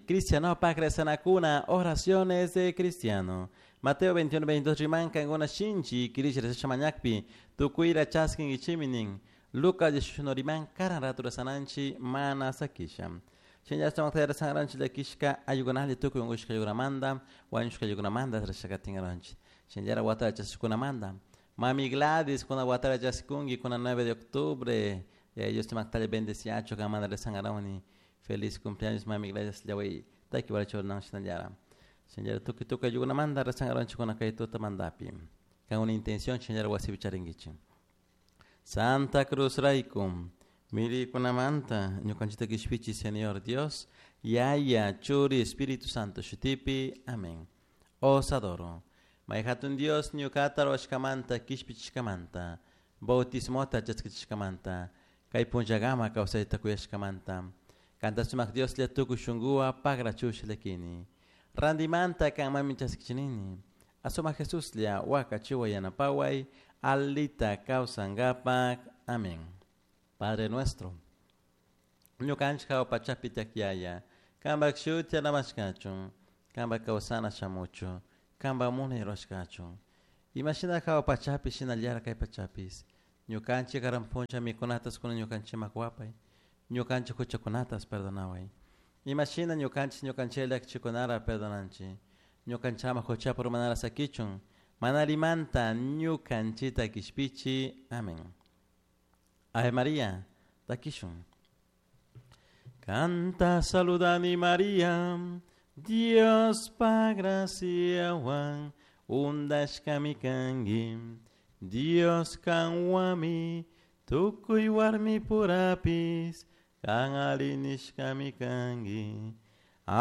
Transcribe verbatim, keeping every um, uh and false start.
Cristiano rezanakuna, oraciones de cristiano. Mateo veintiuno, veintidós riman kankuna shinchi kirisha rezasha mañakpi tukuyra chaskinkichiminin. Lucas dieciocho riman karan ratu rezananchi mana sakisha. Shinlla rezangaronchi llakishka ayukunalli tukuy unkushka ayukunamanta wañushka ayukunamanta rezashakatingaronchi. Shinllara watara chaskukunamanta. Mami Gladys kuna watara chaskunki kuna nueve de octubre. Dios te mactale bendeciacho kamanda rezangaroni. Feliz cumpleaños mami Gladys llaway. Taki waracho nan shinallara. Shinllara tukuy tukuy ayukunamanta rezangaronchi kuna kay tuta mandapi. Kan una intención shinllara wasipi charinkichi. Santa Cruz raykum mirikunamanta ñukanchita kishpichi Señor Dios, Yaya, Churi, Espíritu Santo shutipi. Amén. Os adoro. Mayhatun Dios ñukata ruwashkamanta kishpichishkamanta, bautismota chaskichishkamanta, kay punllagama kawsayta kuyashkamanta, kanta sumak Dios lla tukuy shunkuwa pagrachush llakini. Randimanta kanmanmi chaskichinini. Asuma Jesús lla wakachiwa yanapaway, alita kawsankapak. Amén. Padre nuestro, ñukanchik hawa pachapi tiyak kampak shuti alamashkachun, kampak kawsana shamuchu, kampak munay rurashkachun. Imashina hawa pachapi shinallara kay pachapis, ñukanchik karan puncha mikunatas kuna ñukanchikman wapay, ñukanchik huchakunatas perdonaway. Imashina ñukanchik ñukanchik llakichikunara perdonanchik, ñukanchama huchapa urmanara sakichun, manarimanta ñukanchita kishpichi. Amén. Ave María, takishun. Canta saludani María, Dios pa graciawan, undashkami kanki, Dios kanwami, tukuy warmi purapis, kan alinishkami kanki,